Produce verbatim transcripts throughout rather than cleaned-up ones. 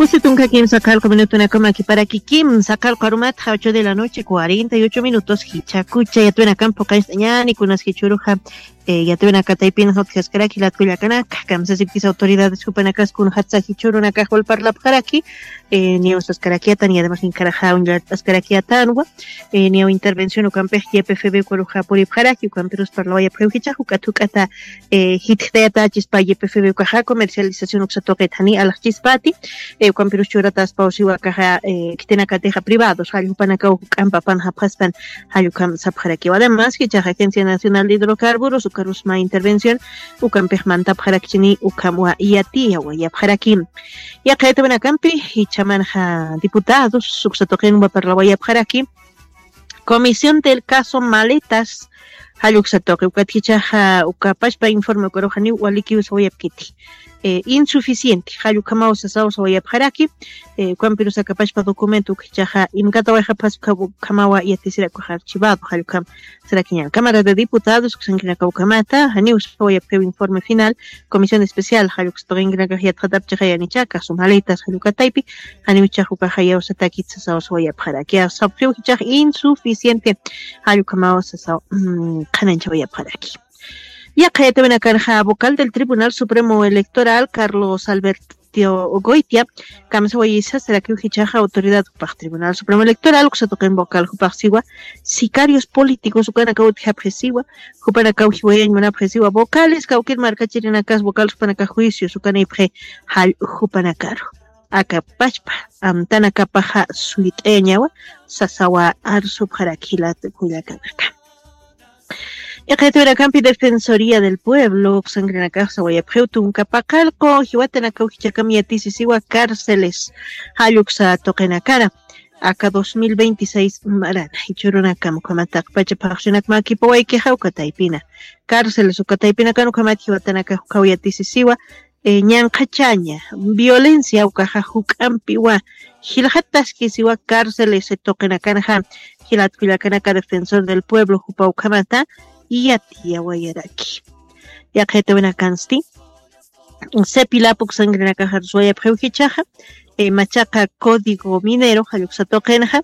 Doce tunka kimsa qallqu minutunakama kiparaki kimsa qallqu arumatxa ocho de la noche, cuarenta y ocho minutos. Jichhakucha yatwinakampi phuqañcht'añäni, kunas jichhüruxa, eh, yatwinaka taypinxa utjaskaraki jilat kullakanaka, kamsasipkis autoridades jupanakas kunxatsa jichhürunakax wal parlapxaraki, eh, niyaw saskarakiyätan, y además inkharaxa uñllat'askarakiyätanwa, eh, niyaw intervención ukampix Y P F B ukaruxa puripxaraki, ukampirus parlawayapxiw jichhax juk'at juk'ata, eh, jitjtayata chispa Y P F B ukaxa comercialización uksa tuqit jani alaxchispati, eh, ukampirus churataspaw siwa akaxa, eh, khitinakatixa privados, jall jupanakaw juk'amp apanxapxaspan, jall ukham sapxarakiw. Además, jichhax Agencia Nacional de Hidrocarburos, ukarus mä intervención, ukampix mantapxarakchini, ukham wa yatiyawayapxaraki. Yaqha yatawinakampi, jichhamanxa diputados, uksa tuqinwa parlawayapxaraki, Comisión del caso Maletas, jall uksa tuqi, ukat jichhaxa, uka pachpa informe ukaruxa niw walikiw sawayapkiti. Eh, insuficiente, jall ukhamaw sasaw sawayapxaraki, eh, ukampirus aka pachpa documento uk jichhaxa, imkatawayxapxas uka, ukhamawa yatisirak ukax archivado, jall ukham sarakiñäni. Cámara de Diputados uksankirinaka ukhamata, janiw sawayapxiw informe final, Comisión Especial, jall uksa tuqinkirinakax yatxatapchixa yanicha, caso Maletas, jall uka taypi, janiw jichhax ukaxa yawsatakit sasaw sawayapxaraki, sapxiw jichhax insuficiente, jall ukhamaw sasaw, mm, qhanañchawayapxaraki. Yaqha yatawinakanxa vocal del Tribunal Supremo Electoral, Carlos Alberto Goitia, kamsawayisa, sarakiw jichhaxa autoridad jupax Tribunal Supremo Electoral, uksa tuqin vocal jupax siwa, sicarios políticos ukanakaw utjapxisiwa, jupanakaw jiwayañ munapxisiwa, vocales, kawkir markachirinakas vocales jupanakax juicios ukanipxi jall jupanakaru. Aka pachpa amtanakapaxa suyt'ayañawa, sasawa arsupxaraki jilat kullakanaka. Yaqha yatawinakampi Defensoría del Pueblo uksankirinakax sawayapxiw tunka paqallqu jiwatanakaw jichhakam yatisisiwa cárceles, jall uksa tuqinakana, aka dos mil veintiséis marana, jichhürunakam ukhamat taqpacha phaxsinakma kipawaykixa uka taypina, cárceles uka taypinakan ukhamat jiwatanakax ukhaw yatisisiwa, eh, ñanqhachaña, violencia ukaxa juk'ampiwa, jilxataskisiwa cárceles tuqinakanxa, jilat kullakanaka Defensor del Pueblo jupa ukhamata yatiyawayaraki. Yaqha yatawinakansti, CEPILAP uksankirinakax arswayapxiw jichhaxa, eh, machaqa Código Minero, jall uksa tuqinxa,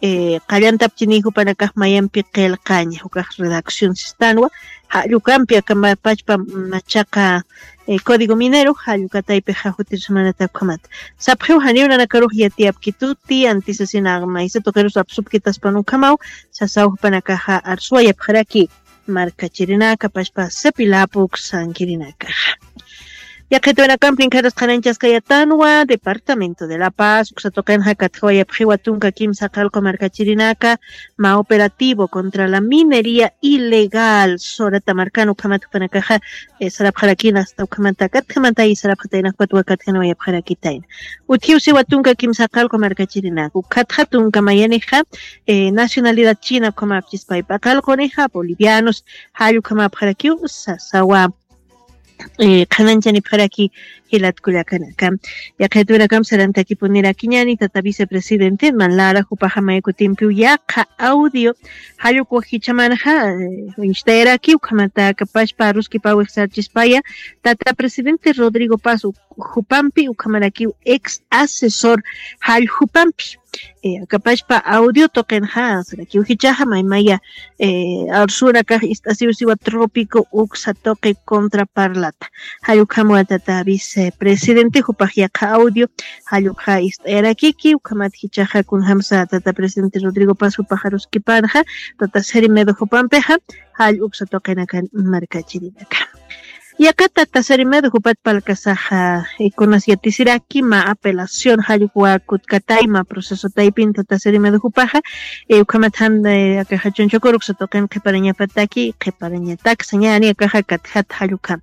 eh, qallantapchini jupanakax mayampi qillqaña, ukax redacción sistanwa, jall ukampi aka ma-, pachpa machaqa, eh, Código Minero, jall uka taypixa jutir semanata ukhamat. Sapxiw janiw nanakarux yatiyapkituti, antisasina maysa tuqirus apsupkitaspan ukhamaw, sasaw jupanakaxa arswayapxaraki, markachirinaka, pachpa CEPILAP uksankirinakaxa. Yaqha yatawinakampi inkharax qhanañchaskayatanwa, Departamento de La Paz, uksa tuqinxa katjawayapxiwa tunka kimsa qallqu markachirinaka, mä operativo contra la minería ilegal, Sorata markan ukhamat jupanakaxa, eh, sarapxarakina, hasta ukhamata katjamata y sarapxatayna ukatwa katjanawayapxarakitayna. Utjiw siwa tunka kimsa qallqu markachirinaka, ukatxa tunka mayanixa, eh, nacionalidad china ukhamapchispay paqallqunixa, bolivianos, jall ukhamapxarakiw, sasawa, eh, qhanañchanipxaraki jilat kullakanaka. Yaqha yatawinakam sarantakipunirakiñäni tata vicepresidente, man lara jupaxa may kutimpiw yaqha audio, jall uk jichhamanxa, eh, uñchtayaraki, ukhamata aka pachpa aruskipawix sarchispaya, tata presidente Rodrigo Paz uk-, jupampi, ukhamarakiw ex asesor jall jupampi. Eh, aka pachpa audio tuqinxa, sarakiw jichhaxa, maymaya, eh, arsurinakax ist'asiw siwa trópico uksa tuqi contra parlata. Jall ukhamwa tata vicepresidente jupax yaqha audio, jall ukxa ist'ayarakiki, ukhamat jichhaxa kunjamsa tata presidente Rodrigo Paz jupax aruskipanxa, tata Seremedo jupampixa, jall uksa tuqinakan markachirinaka. Yaqha tata Seremedo jupat palkasaxa, eh, kunas yatisiraki mä apelación, jall uk kutkatayma proceso taypin tata Seremedo jupaxa, eh, ukhamat jan, eh, akaxa Chunchukuru uksa tuqin qhiparañapataki, qhiparañatak sañäni akaxa katjat jall ukhama.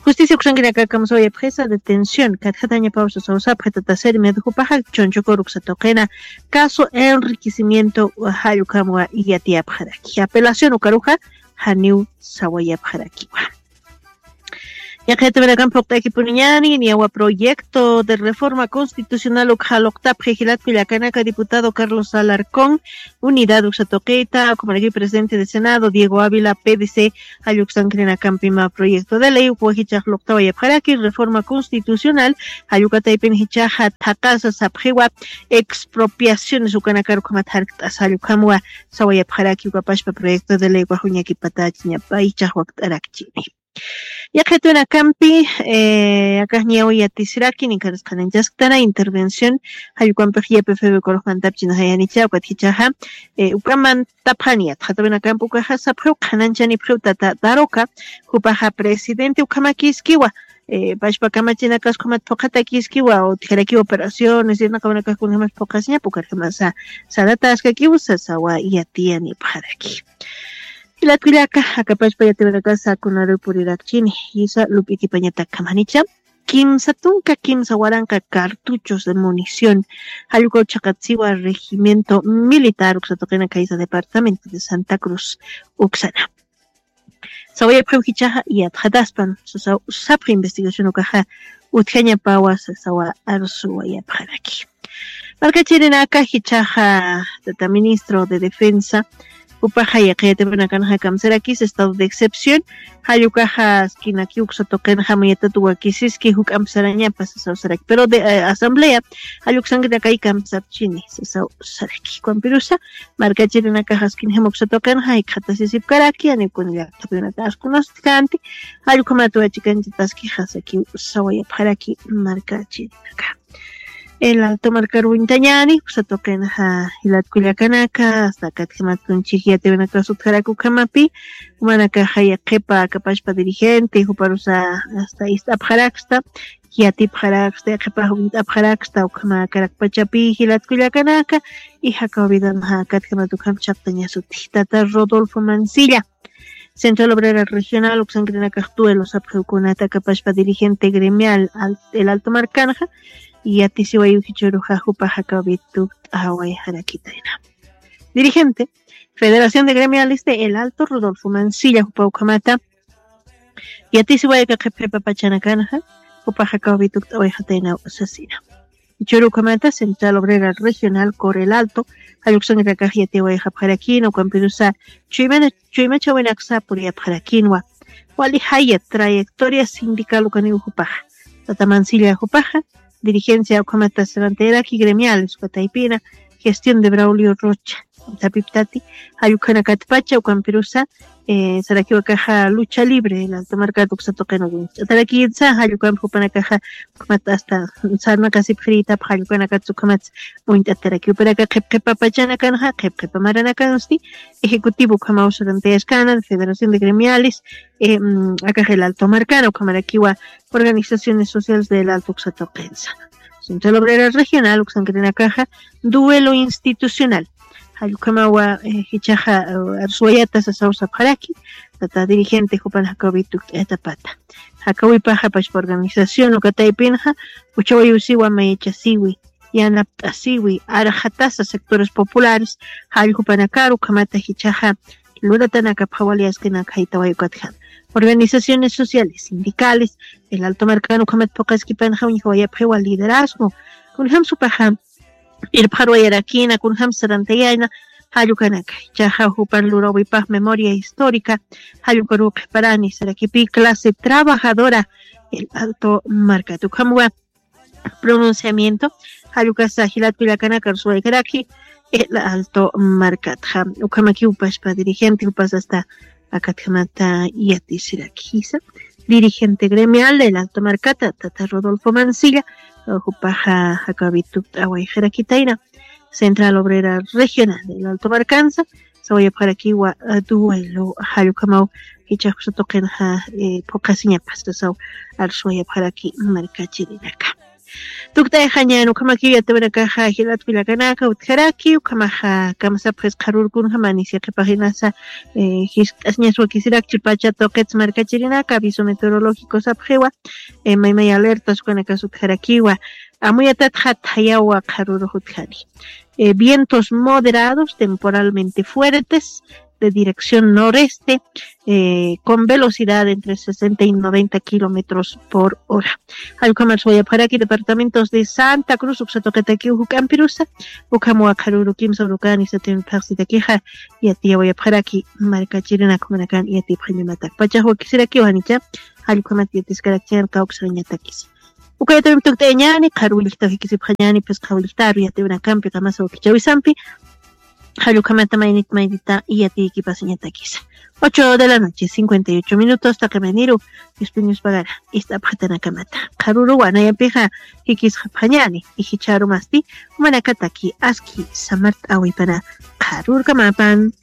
Justicia uksankirinaka kamsawayapxisa detención, katjatañapaw sasaw sapxi tata Seremedo jupaxa Chunchukuru uksa tuqina, caso enriquecimiento jall ukhamwa yatiyapxaraki. Apelación ukaruxa, janiw sawayapxarakiwa. Yaqhitawirakan phuqt'akipuniñani niyawa proyecto de reforma constitucional ukxa luqtapxi jilatku llakanaka diputado Carlos Alarcón, Unidad uksatuqita ukhamaraki presidente de Senado Diego Ávila, P D C, jalluksankirinakampima proyecto de ley ukwajichax luqtawayapxaraki reforma constitucional jallukataypin jichaxa thaqasa sapxiwa expropiaciones ukanakar ukhamat jarkt'as jallukhamwa sawayapxaraki ukapashpa proyecto de ley ukwajuñakipatachiñapa jichax wakt'arakchini. Yaqhitunakampi akaxñawi yatisiraki ninkarisqaninchaskitana intervención jallkukampix ypfb ukarux mantapchinaxayanicha ukat jichaxa ukamantapxani yatxatawinakampi ukaxa sapxiw qhananchanipxiw tata daroka jupaxa presidente ukhamakiskiwa pashpa kamachinakas ukhamat phuqhatakiskiwa utjarakiw operaciones irnaqawanakax kunjamas phuqhasiñapa ukarjamasa sarataskakiw sasawa yatiyanipxaraki. Jilatkullaka akapashpa yatiwanakasa kunaruw purirakchini jisa lup'ikipañatakkamanicha kimsa tunka kimsa waranqa cartuchos de munición jallukaw chhaqatsiwa regimiento militar uksatuqina kaysa departamento de Santa Cruz uksana sawayapxiw jichaxa yatxataspan sasaw sapxi investigación ukaxa utjañapawa sasawa arsuwayapxaraki. Markachirinaka jichaxa tata ministro de defensa jupaxa yaqiyatipanakanxa kamsarakis estado de excepción jallukaxa skinaki uksatuqinxa muyatatuwakisiski juk'amp sarañapa sasaw saraki pero de asamblea jalluksankinakay kamsapchini sasaw saraki kwampirusa markachirinakaxa skinjama uksatuqinxa jikxatasisipkaraki aniwkuna llaqtapinaka askunastkanti jallukhamatuwachikanchataskixa sakiw sawayapxaraki markachirinaka. El alto markaruwintañani uksatuqinxa jilatkullakanaka asta akatjimatkunchik yatiwinakas utjarakukamapi jumanakaxa yaqhipa akapashpa dirigente juparusa asta ist'apxaraksta yatipxaraksta yaqhipax uñt'apxaraksta ukhama karakpachapi jilatkullakanaka. Y jakaw vidanxa akatjimat ukham chhaqtañasuti tata Rodolfo Mancilla, Central Obrera Regional uksankirinakax duelo sapxiwkunata akapashpa dirigente gremial el alto markanxa yatisiwayu jichuruxa jupax jakaw vitu t'awayxarakitayna. Dirigente Federación de Gremiales de El Alto Rodolfo Mancilla jupa ukhamata yatisiwayaka qhipqhipa pachanakanxa jupaxa kawvitukt'awayxataynaw sasina. Jichhürukhamata Central Obrera Regional Corel Alto jalluksanrakax yatiwayxapxarakina ukampirusa chuymachawinaksa puriyapxarakinwa. Wali jaya trayectoria sindical ukaniw jupaxa tata Mancilla jupaxa dirigencia ukhamata sarantayaraki gremiales ukataypina gestión de Braulio Rocha sapiptati jallukhanakatpacha ukampirusa sarakiwakaxa lucha libre el alto markat uksatuqina uñt'atarakiyitsa jallukampi jupanakaxa ukhamat asta sarnaqasipxiriyitapxa jallukanakatsa ukhamatsa uñt'ataraki jupanaka qhipqhipa pachanakanxa qhipqhipa maranakansti ejecutivo ukhamaw sarantayaskana federación de gremiales akax el alto markana ukhamarakiwa organizaciones sociales del alto uksatuqinsa. Central Obrera Regional uksankirinakaxa duelo institucional jallukhamawa jichhaxa arsuwayata sasaw sapxaraki tata dirigente jupan jakawitu ukt'ayatapata jakawipaxa pashpa organización ukataypinxa uchawayusiwa mayachasiwi yanapt'asiwi arxatasa sectores populares jalljupanakaru ukhamata jichhaxa luratanakapxawali askinaka jaytaway ukatjam organizaciones sociales sindicales el alto markan ukhamat phuqaskipanxa uñjawayapxiwa liderazgo kunjam supaxa irpxarwayarakina kunjam sarantayayna jallukanaka jichhaxa jupan lurawipax memoria histórica jallukaruw qhiparani sarakipi clase trabajadora el alto markat ukhamwa pronunciamiento jallukasa jilatkullakanaka arsuwaykaraki el alto markatxa ukhamakiwpashpa dirigente jupas asta akatjamata yatisiraki jisa dirigente gremial el alto markata tata Rodolfo Mancilla jupaxa jakawitukt'awayxarakitayna Central Obrera Regional el alto markansa sawayapxarakiwa duelo jallukhamaw jichhax uksatuqinxa phuqasiñapas sasaw arsuwayapxaraki markachirinaka. Tukt'ayxañan ukhamakiw yatiwanakaxa jilatkullakanaka utjaraki ukhamaxa kamsapxis qharurkunjamani siqipaqinasa jiskt'asiñas wakisirakchi pacha tuqits markachirinaka aviso meteorológico sapxiwa maymay alertas ukanakas utjarakiwa amuyatatxa thayawa qharurux utjani vientos moderados temporalmente fuertes de dirección noreste, con velocidad entre sesenta y noventa kilómetros por hora. Allkhamas wayapxaraki departamentos de Santa Cruz uksatuqatakiw juk'ampirusa, ukham wakharuru kimsa urukani satin phaxsitakixa yatiyawayapxaraki. Markachirinakumanakan yatipxañamatak pachax wakisirakiw janicha. Allkhamat yatiskarakchian kawksañatakisa. Ukayatawimtukt'ayañani qharuwillktaw jikisipxañani phisqhawillktaru yatiwinakampi qamasa wakichawisampi. Jallukhamata maynit maynita iyatiykipasañatakisa. Ocho de la noche cincuenta y ocho minutos taqimaniru. Ispiñuspagara ist'apxatanakamata qharuruwa nayapixa jikisxapxañani. Ijichharumasti umanakataki aski samart'awipana qharurkamapan.